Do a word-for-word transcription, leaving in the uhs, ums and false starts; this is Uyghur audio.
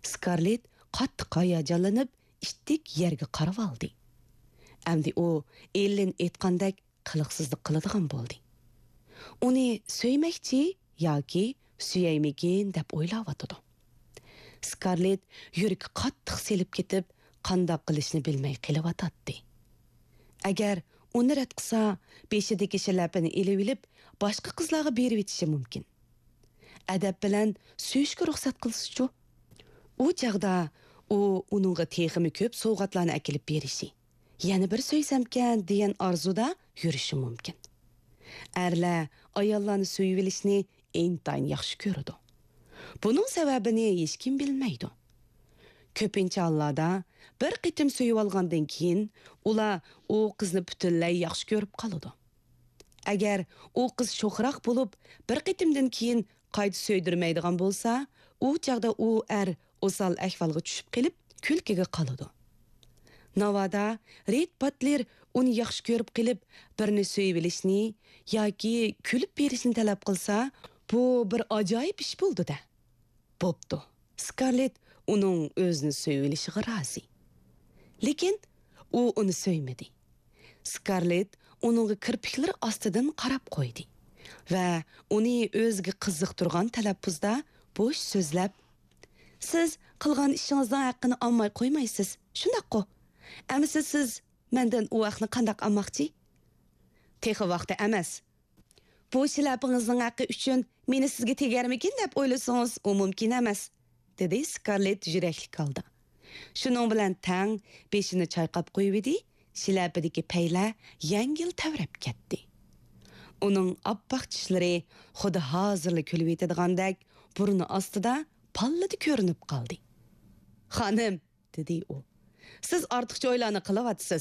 سكارلېت قاتتىق ھاياجانلىنىپ، ئىتتىك يەرگە قارىۋالدى. ئەمدى ئۇ ئېللېن ئېيتقاندەك قىلىقسىزلىق قىلىدىغان بولدى. ئۇنى سۆيمەكچى ياكى سۆيەيمىكىن دەپ ئويلاۋاتىدۇ. سكارلېت يۈرىكى قاتتىق سېلىپ كېتىپ، قانداق قىلىشنى بىلمەي قېلىۋاتاتتى. ئەگەر ئۇنى رەت قىلسا، بېشىدىكى شىلەپىنى ئېلىۋېلىپ، باشقا قىزلارغا بېرىۋېتىشى مۇمكىن. ئەدەپ بىلەن سۆيۈشكە رۇخسەت قىلسىچۇ؟ ئۇ چاغدا ئۇ ئۇنىڭغا تېخىمۇ كۆپ سوۋغاتلارنى ئەكېلىپ بېرىشى، يەنە بىر سۆيسەمكەن دېگەن ئارزۇدا يۈرۈشى مۇمكىن. ئەرلەر ئاياللارنى سۆيۈۋېلىشنى ئىنتايىن ياخشى كۆرىدۇ. بۇنىڭ سەۋەبىنى ھېچكىم بىلمەيدۇ. كۆپىنچە ھاللاردا بىر قېتىم سۆيۈۋالغاندىن كېيىن، ئۇلار ئۇ قىزنى پۈتۈنلەي ياخشى كۆرۈپ قالىدۇ. ئەگەر ئۇ قىز شوخراق بولۇپ، بىر قېتىمدىن كېيىن قايتا سۆيدۈرمەيدىغان بولسا، ئۇ چاغدا ئۇ ئەر ئوسال ئەھۋالغا چۈشۈپ قېلىپ، كۈلكىگە قالىدۇ. ناۋادا رېد باتلېر ئۇنى ياخشى كۆرۈپ قېلىپ، بىرنى سۆيۈۋېلىشنى ياكى كۈلۈپ بېرىشنى تەلەپ قىلسا، بۇ بىر ئاجايىپ ئىش بولىدۇ-دە. بوپتۇ، سكارلېت ئۇنىڭ ئۆزىنى سۆيۈۋېلىشىغا رازى. لېكىن ئۇ ئۇنى سۆيمىدى. سكارلېت ئۇنىڭغا كىرپىكلىرى ئاستىدىن قاراپ قويدى ۋە ئۇنى ئۆزىگە قىزىقتۇرغان تەلەپپۇزدا بوش سۆزلەپ، «سىز قىلغان ئىشىڭىزنىڭ ھەققىنى ئالماي قويمايسىز، شۇنداققۇ؟ ئەمىسە سىز مەندىن ئۇ ھەقنى قانداق ئالماقچى؟» «تېخى ۋاقتى ئەمەس. بۇ شىلەپىڭىزنىڭ ھەققى ئۈچۈن مېنى سىزگە تېگەرمىكىن دەپ ئويلىسىڭىز، ئۇ مۇمكىن ئەمەس»، دېدى سكارلېت يۈرەكلىك ھالدا. شۇنىڭ بىلەن تەڭ بېشىنى چايقاپ قويۇۋىدى، شىلەپىدىكى پەيلەر يەڭگىل تەۋرەپ كەتتى. ئۇنىڭ ئاپئاق چىشلىرى خۇددى ھازىرلا كۈلۈۋېتىدىغاندەك بۇرنى ئاستىدا پاللىدە كۆرۈنۈپ قالدى. «خانىم»، دېدى ئۇ، «سىز ئارتۇقچە ئويلارنى قىلىۋاتىسىز.